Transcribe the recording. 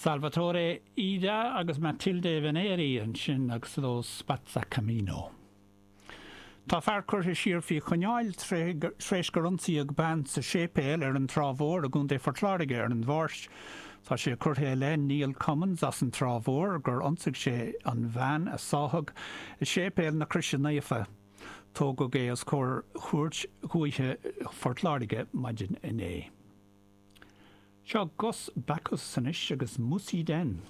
Salvatore Ida agus Matilde Veneri ansin agus Lo Spazzacamino. Tá fear curtha siar faoi choinneáil tar éis gur ionsaíodh bean sa séipéal ar an Trá Mhór i gContae Phort Láirge ar an Mháirt. Tá sé curtha i leith Neil Cummins as an Trá Mhór gur ionsaigh sé an bhean a sáthadh i Séipéal na Croise Naofa. Tógadh é os comhair Chúirt Dhúiche Phort Láirge maidin inné. Seo Gus Backus anois agus Musy Den.